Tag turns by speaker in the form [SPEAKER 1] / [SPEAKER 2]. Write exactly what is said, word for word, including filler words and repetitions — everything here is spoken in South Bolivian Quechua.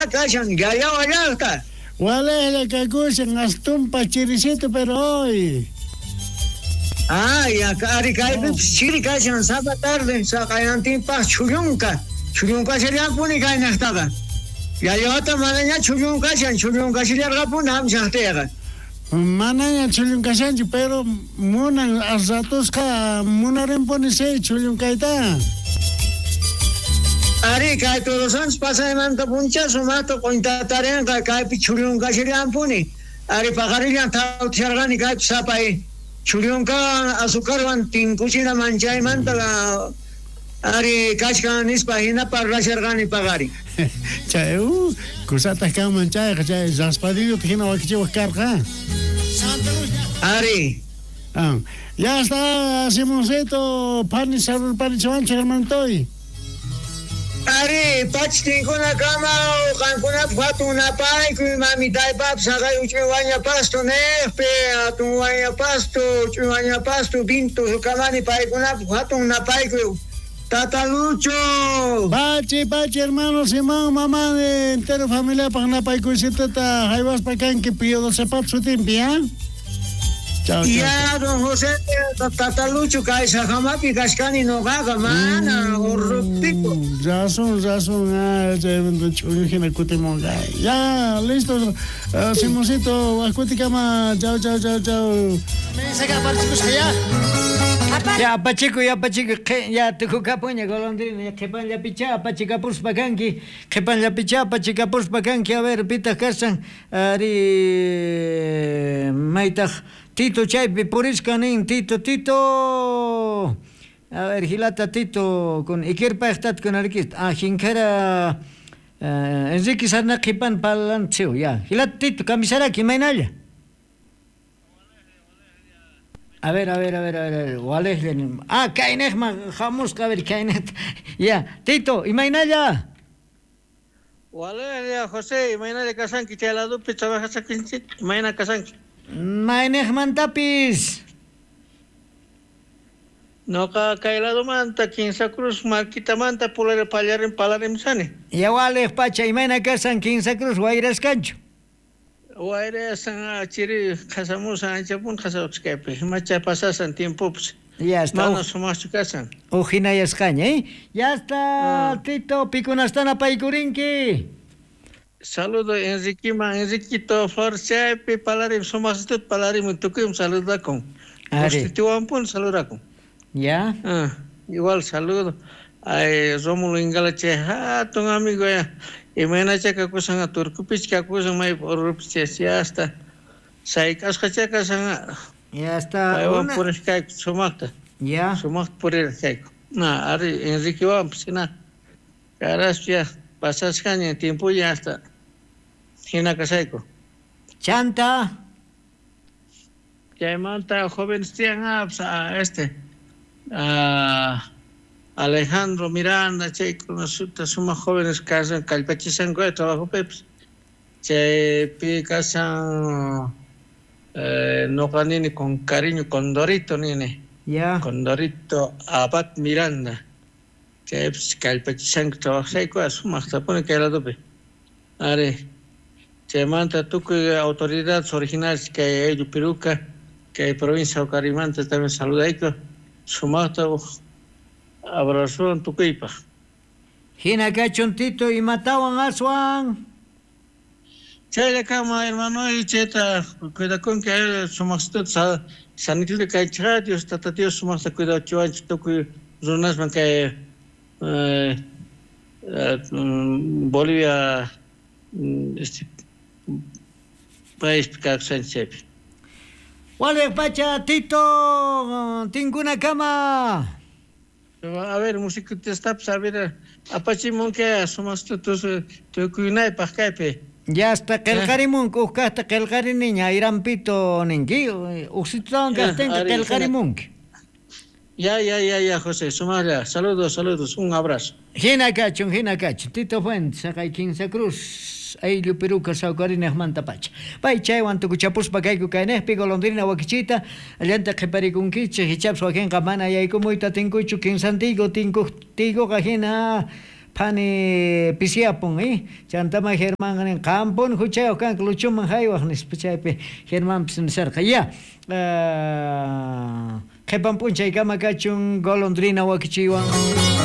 [SPEAKER 1] kashan Yayawa llaqta?
[SPEAKER 2] Walejlla kakushan astumpa chirisito pero hoy.
[SPEAKER 1] Ah, ya ari kaypipis chiri kashan sapa tarde saqayantinpaq chullunka. Chullunkallampuni kaynaqtaqa. Yayawata manaña chullunkashan, chullunkashallarqapuni hamshaqtiqa.
[SPEAKER 2] Manaña chullunkashanchu, pero munan ratusqa munarinpuni chay chullunkayta.
[SPEAKER 1] Ari kay Todos Santos pasaymanta puncha sumaqta q'untatarinqa kaypi chullunkashallampuni. Ari paqarillan thawtisharqani kaypi sapay chullunkawan azucarwan tinkuchina manchaymanta ari kachkan nispa hina parlasharqani paqari.
[SPEAKER 2] Chay uh, kusataq kanman chayqa chay raspadillota hina wakichiwaq karqa.
[SPEAKER 1] Ari.
[SPEAKER 2] Ah, ya está Simoncito, pani sarurparichiwanchik hermanitoy.
[SPEAKER 1] Ari, pachtinkuna kama qankunapaq hatun napaykuy mamitaypapis haqay uch'uy waña pasto niqpi hatun waña pasto uch'uy waña pasto vinto kamani paykunapaq hatun napaykuy. Tata Lucho.
[SPEAKER 2] Pachi, pachi, hermano Simón, mamá de entero familia paq napaykuysitata haywaspa kanki Pío doce pat sutinpi, ¿ah? Chao, chao.
[SPEAKER 1] Ya, don José, Tata Lucho, kay sajamapi kashkani noqaqa mana urruptiku.
[SPEAKER 2] Razón, razón, ah, chaymanta ch'ullu hina kutimunqa. Ya, listo, uh, Simoncito, waqkutikama, chao, chao, chao, chao.
[SPEAKER 3] Ya, apachiku, ya, apachiku, ya, tukukapuña, golondrina, ya, qhipanllapichá, apachikapuspa kanki, qhipanllapichá, apachikapuspa kanki, a ver, pitaq kashan, ari, maytaq, Tito chaypi purisqa nin, Tito, Tito, a ver, hilata Tito, con ikirpaqtat con arquist, ah, jinkara, uh, Enrique Sarna qhipan palanchiw, ya, hilata Tito, kamisaraki, maynalla. A ver, a ver, a ver, a ver, walejlla. Ah, kaynejman hamusqa, a ver, kaynej. Ya, Tito, imaynalla.
[SPEAKER 4] Walejlla, José, imaynalla kasanki chay ladopi trabajasakinchik, imayna kasanki.
[SPEAKER 3] Maynejmantapis.
[SPEAKER 4] Noqa kay ladomanta, Quinsa Cruz, Marquitamanta, pulare pallarin palarimsani.
[SPEAKER 3] Ya walej pacha, imayna kasan Quinsa Cruz, wayraskanchu.
[SPEAKER 4] Wayrasan chiri qasamusan anchapun qasawchkaypi macha pasasan tiempopas.
[SPEAKER 3] Ya está.
[SPEAKER 4] Mana sumaqchu kasan.
[SPEAKER 3] Ujinayasqaña, ¿eh? Ya está, ah. Tito, pikunastana paykurinki.
[SPEAKER 4] Saludo Enriquima, Enriquito Flor chaypi palarim sumaqsitut palarim tukuyim saludakun. Constituampun saludakun.
[SPEAKER 3] Ya.
[SPEAKER 4] Ah, igual saludo. Ay, Rómulo Ingala chay hatun amigo ya. Imaynacha kakusan turkupich kakusan may urupich ya hasta sayk'asqa chakasan.
[SPEAKER 3] Ya está.
[SPEAKER 4] Paywan puriq kayku sumaqta.
[SPEAKER 3] Ya.
[SPEAKER 4] Sumaqta puriq kayku. Na, ari Enriquewanpis hina. Caraspi ya pasasqaña tiempolla hasta hina kasayku.
[SPEAKER 3] Chanta.
[SPEAKER 4] Chaymanta jóvenes tiyan ah, este ah, Alejandro Miranda, chaykuna sumaq jóvenes kasan kallpachisanku trabajopipis. Chaypi kasan eh, noqa nini con cariño Condorito nini.
[SPEAKER 3] Ya.
[SPEAKER 4] Condorito Abad Miranda. Chaypis kallpachisanku trabajayku sumaqtapuni kay ladopi. Ari chaymanta tukuy autoridades originales kay ayllu Piruka, kay provincia Ucarimanta también saludayku sumaqta abrazowan tukuypaq.
[SPEAKER 3] Hina kachun Tito, imatawan aswan.
[SPEAKER 4] Chaylla kama hermano, chayta cuidakunki sumaqsituta sanitito kaychikqa Dios tata Dios sumaqta cuidachiwanchik tukuy runasman kay eh, eh, Bolivia este paispi kawsanchik chaypi.
[SPEAKER 3] Waliq pacha Tito, tinkunakama.
[SPEAKER 4] A ver, música a ver, apachimunki sumaqsituta tukuynaypaq kaypi.
[SPEAKER 3] Ya está qillqarimunki, uj kaqta qillqariniña ayrampito ninki, uqsitutawan kaqtinqa qillqarimunki.
[SPEAKER 4] Ya, ya, ya, ya, José, sumaqlla. Saludos, saludos, un abrazo.
[SPEAKER 3] Hina kachun, hina kachun. Tito Fuentes, haqay Quinsa Cruz, ayllu Piruka sawkarinejmanta pacha. Pay chaywan tukuchapuspa kayku kaynejpi golondrina wakichita, allanta qhiparikunkichik, hichapas wakinqa mana yaykumuyta tinkuchu, kinsantigo tinkuqtigoqa hina Phani pisiyapun, eh? Chantama Germán nin, qampun huchayuq kanki Luchoman haywaq nispa chaypi Germanpis nisarqa. Ya, qhipan p'unchaykama kachun golondrina wakichiywan.